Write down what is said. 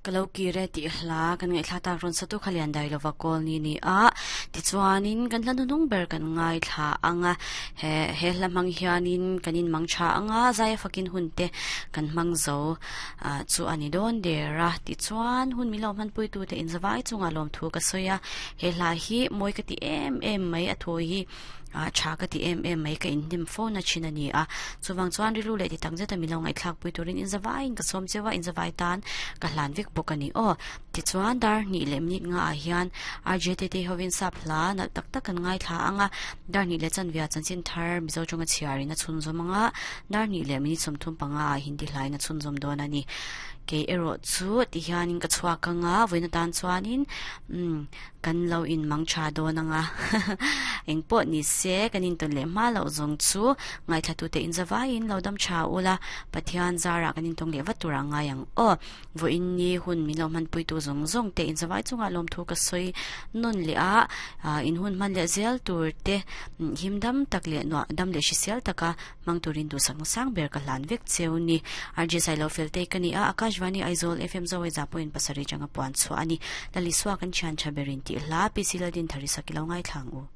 Ka lo kir e tih hla kan ngaihthla tak rawn satu kha lian dai lova kawl ni ni a, tichuanin kan hla hnuhnung ber kan ngaithla ang a, he he hla hmang hianin kan inmang tha ang a, zaia fakin hun te kan hmang zo ah chu a ni dawn der a, tichuan hun min lo hmanpuitute inzavai chungah lawmthu ka sawi a, he hla hi mawi ka ti em em mai a thu hi. Ah tha ka ti em em mai ka inhnem fo na thin a ni a, chuvang chuan rilru leh ti tak zeta min lo ngaihthlak pui turin inzavaiin ka sawm cheu a, inzavai tan ka hlan vek bawk a ni aw. Tichuan dar hnih leh minute nga ah hian RJ Tete hovin sap hla nalh tak tak kan ngaithla ang a, dar hnih leh chanvia chanchin thar Mizo tawnga chhiarin a chhunzawm ang a, dar hnih leh minute 35 ah Hindi hlain a chhunzawm dawn a ni. Kei erawh chu tihianin ka chhuak ang a, vawiin atan chuanin umm Kan lo in mang tha dawn anga engpawh ni se kan intawn leh hma loh zawng chu ngaithlatute inzavaiin lo dam tha ula Pathian zarah kan intawng leh vat turah ngai ang aw. Vawiin ni hun min lo hmanpuitu zawng zawng te inzavai chungah lawmthu ka sawi nawn leh a, in hun hman leh zel tur te him dam tak leh nuah dam leh hrisel taka Hmang turin duhsakna sang ber ka hlan vek cheu ni. RJ Sailo Feltei ka ni a, Akashvani Aizawl FM Zawaiza pawhin pasarih changa puan chhuah a ni. Lalisua kan thian tha berin tih hla, PC Laldin Thari sak i lo ngaithla ang u.